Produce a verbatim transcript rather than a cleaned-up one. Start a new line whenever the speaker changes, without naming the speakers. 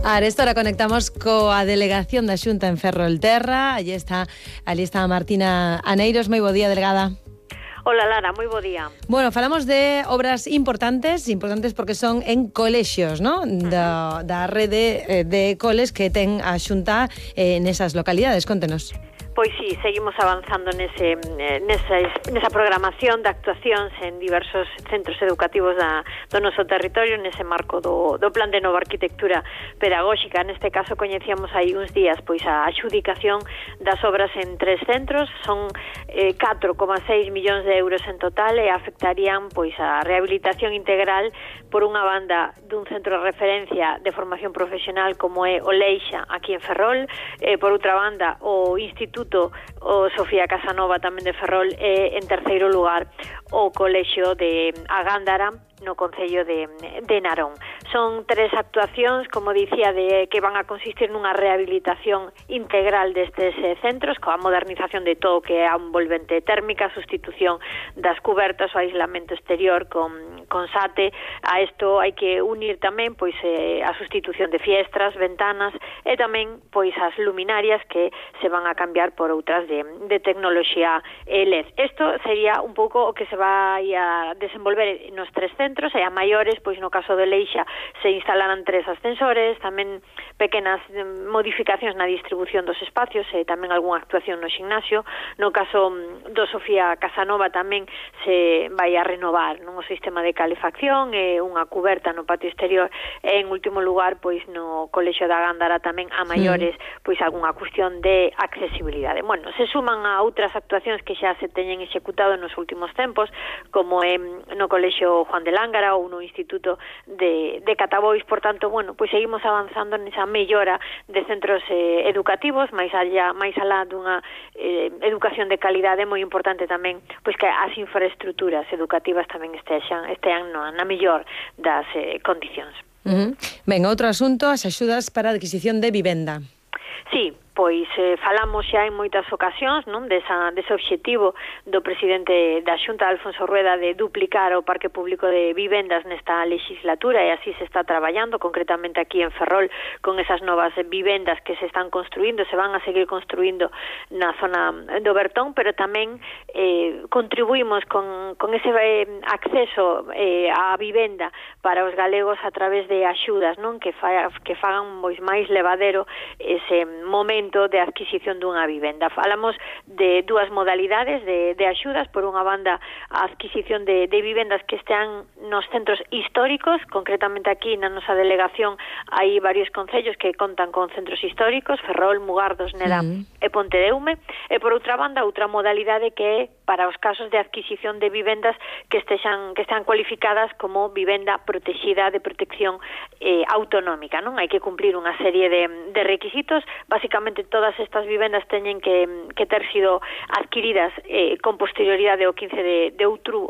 Ahora conectamos coa delegación da Xunta en Ferrolterra. Allí está, ali está Martina Aneiros. Moi bo día, delegada.
Hola Lara, moi bo día.
Bueno, falamos de obras importantes, importantes porque son en colexios, ¿no? Da, da rede de coles que ten a Xunta eh, nesas localidades. Contenos.
Pois sí, seguimos avanzando nese, nesa, nesa programación de actuacións en diversos centros educativos da, do noso territorio, nese marco do, do Plan de Nova Arquitectura Pedagóxica. Neste caso coñecíamos aí uns días pois a adxudicación das obras en tres centros, son eh, catro coma seis millóns de euros en total e afectarían pois a rehabilitación integral por unha banda dun centro de referencia de formación profesional como é o Leixa aquí en Ferrol, eh, por outra banda o Instituto o Sofía Casanova tamén de Ferrol e en terceiro lugar o Colexio de Agándara no Concello de, de Narón. Son tres actuacións, como dicía, de que van a consistir nunha rehabilitación integral destes eh, centros, coa modernización de todo que é a envolvente térmica, sustitución das cubertas, o aislamento exterior con, con SATE. A isto hai que unir tamén pois eh, a sustitución de fiestras, ventanas e tamén pois as luminarias que se van a cambiar por outras de, de tecnoloxía L E D. Isto sería un pouco o que se vai a desenvolver nos tres centros. Centros, e a maiores, pois no caso de Leixa se instalarán tres ascensores, tamén pequenas modificacións na distribución dos espacios e tamén algunha actuación no ximnasio. No caso do Sofía Casanova tamén se vai a renovar non o sistema de calefacción e unha cuberta no patio exterior e en último lugar, pois no Colexio da Gándara tamén a maiores, pois algunha cuestión de accesibilidade. Bueno, se suman a outras actuacións que xa se teñen executado nos últimos tempos, como é no Colexio Juan de Lángara ou no Instituto de, de Catabois. Por tanto, bueno, pois seguimos avanzando nesa mellora de centros eh, educativos, máis allá, máis alá dunha eh, educación de calidade. Moi importante tamén pois que as infraestructuras educativas tamén estexan, estean no, na mellor das eh, condicións.
Uh-huh. Ben, outro asunto, as axudas para a adquisición de vivenda.
Sí, pois eh, falamos xa en moitas ocasións, non, desa, dese obxectivo do presidente da Xunta, Alfonso Rueda, de duplicar o parque público de vivendas nesta legislatura, e así se está traballando, concretamente aquí en Ferrol, con esas novas vivendas que se están construindo, se van a seguir construindo na zona do Bertón, pero tamén eh, contribuímos con, con ese eh, acceso eh, á vivenda para os galegos a través de axudas, non, que, fa, que fagan pois máis levadero ese momento de adquisición dunha vivenda. Falamos de dúas modalidades de, de axudas. Por unha banda, a adquisición de, de vivendas que estean nos centros históricos, concretamente aquí na nosa delegación hai varios concellos que contan con centros históricos, Ferrol, Mugardos, Neda sí. e Pontedeume, e por outra banda, outra modalidade que é para os casos de adquisición de vivendas que estexan que están cualificadas como vivenda protexida de protección eh, autonómica, non? Hai que cumplir unha serie de, de requisitos. Básicamente todas estas vivendas teñen que, que ter sido adquiridas eh, con posterioridade ao quince de, de outubro